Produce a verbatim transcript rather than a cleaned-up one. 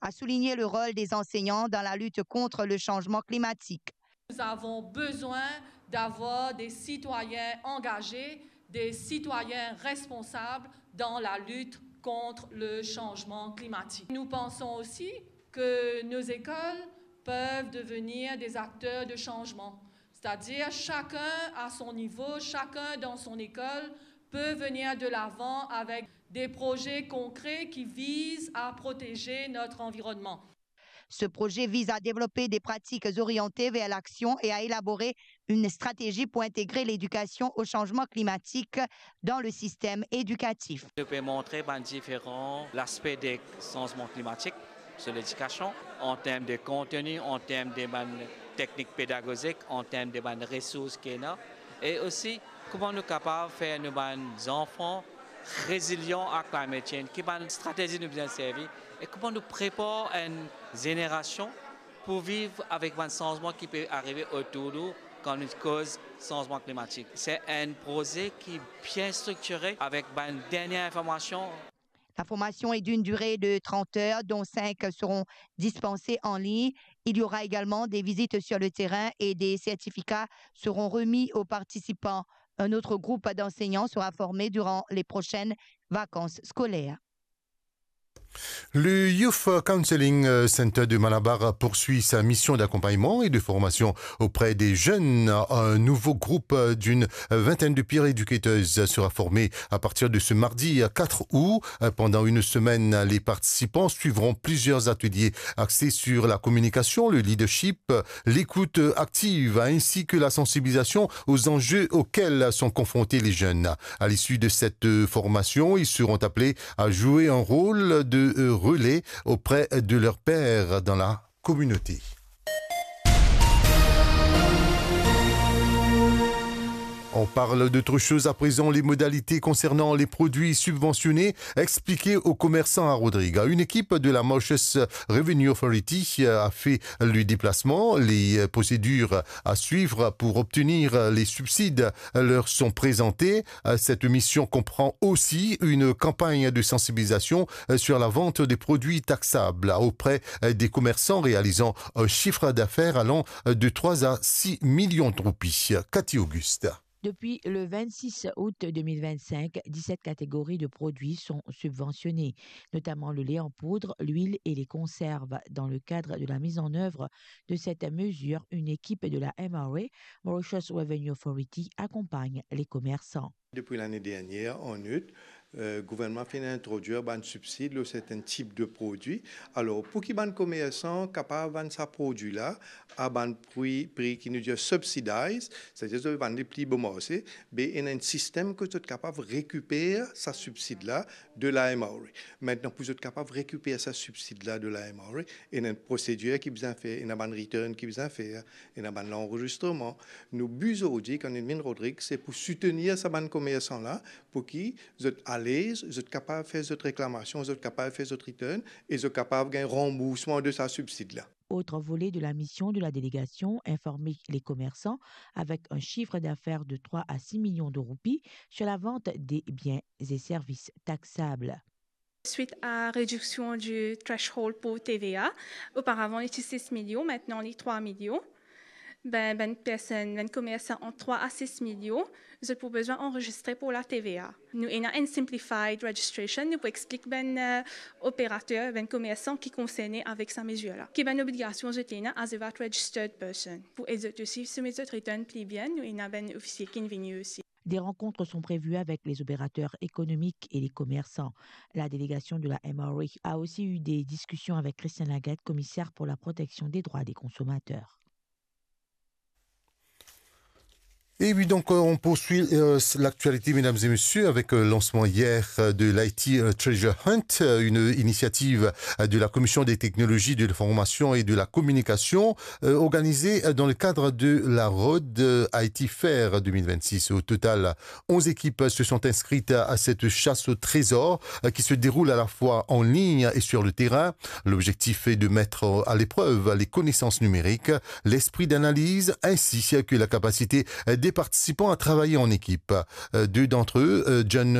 a souligné le rôle des enseignants dans la lutte contre le changement climatique. Nous avons besoin d'avoir des citoyens engagés, des citoyens responsables dans la lutte contre le changement climatique. Nous pensons aussi que nos écoles peuvent devenir des acteurs de changement. C'est-à-dire chacun à son niveau, chacun dans son école peut venir de l'avant avec des projets concrets qui visent à protéger notre environnement. Ce projet vise à développer des pratiques orientées vers l'action et à élaborer une stratégie pour intégrer l'éducation au changement climatique dans le système éducatif. Nou pe montre bann diferan laspe de sanzman klimatik sur ledikasion, an term de konteni, an term de bann teknik pedagozik, an term de bann resours ki ena, e osi kouma nou kapav fer nou bann zanfan rezilian a climate change, ki bann stratezi nou bizin servi, e kouma nou prepar enn zenerasion pou viv avek bann sanzman ki pe arive otour nou kan nou koz sanzman klimatik. Se enn proze ki bien striktire avek bann dernie informasion. La formation est d'une durée de trente heures, dont cinq seront dispensées en ligne. Il y aura également des visites sur le terrain et des certificats seront remis aux participants. Un autre groupe d'enseignants sera formé durant les prochaines vacances scolaires. Le Youth Counseling euh, Center de Malabar poursuit sa mission d'accompagnement et de formation auprès des jeunes. Un nouveau groupe d'une vingtaine de peer educators sera formé à partir de ce mardi quatre août. Pendant une semaine, les participants suivront plusieurs ateliers axés sur la communication, le leadership, l'écoute active ainsi que la sensibilisation aux enjeux auxquels sont confrontés les jeunes. À l'issue de cette formation, ils seront appelés à jouer un rôle de relais auprès de leurs pairs dans la communauté. On parle d'autre chose à présent, les modalités concernant les produits subventionnés expliquées aux commerçants à Rodrigues. Une équipe de la Mauritius Revenue Authority a fait le déplacement. Les procédures à suivre pour obtenir les subsides leur sont présentées. Cette mission comprend aussi une campagne de sensibilisation sur la vente des produits taxables auprès des commerçants réalisant un chiffre d'affaires allant de trois à six millions de roupies. Cathy Auguste. Depuis le vingt-six août deux mille vingt-cinq, dix-sept catégories de produits sont subventionnées, notamment le lait en poudre, l'huile et les conserves. Dans le cadre de la mise en œuvre de cette mesure, une équipe de la M R A, Mauritius Revenue Authority, accompagne les commerçants. Depi lane dernie, an out, gouvernman finn introdwir bann sibsid lor sertenn tip de prodwi. Alor, pou ki bann komersan kapav vann sa prodwi la a bann pri, pri ki nou dir subsidized, setadir zot vann li pli bon marse, be ena enn sistem kot zot kapav rekiper sa sibsid la de la M R A. Aster, pou zot kapav rekiper sa sibsid la de la M R A, ena enn prosedir ki bizin fer, ena bann return ki bizin fer, ena bann lanrezistreman. Nou bi zordi, kan nou vinn Rodrig, se pou soutenir sa bann komersan la, pou ki zot alez, zot kapav fer zot reklamasion, zot kapav fer zot return, e zot kapav gagn ranboursman de sa sibsid la. Autre volet de la mission de la délégation, informer les commerçants avec un chiffre d'affaires de trois à six millions de roupies sur la vente des biens et services taxables. Suite à réduction du threshold pour T V A, auparavant il était six millions, maintenant il est trois millions. Ben, ben personne, ben commerçant entre trois à six millions, zot pou bizin anrezistre pou la T V A. Nou ena enn simplified registration, nou pou explik ben euh, operater, ben komersan ki konserne avek sa mezir la. Ki ben obligasion zot ena as a vat registered person. Pou ed zot osi soumet zot return pli bien, nou ena ben ofisie ki vini osi. Des rencontres sont prévues avec les opérateurs économiques et les commerçants. La délégation de la M R A a aussi eu des discussions avec Christian Lagarde, commissaire pour la protection des droits des consommateurs. Et oui, donc euh, on poursuit euh, l'actualité, mesdames et messieurs, avec le euh, lancement hier euh, de l'I T Treasure Hunt, une initiative de la Commission des technologies de l'information et de la communication, organisée dans le cadre de la Road I T Fair deux mille vingt-six. Au total, onze équipes se sont inscrites à cette chasse au trésor qui se déroule à la fois en ligne et sur le terrain. L'objectif est de mettre à l'épreuve les connaissances numériques, l'esprit d'analyse ainsi que la capacité des participants à travailler en équipe. Deux d'entre eux, John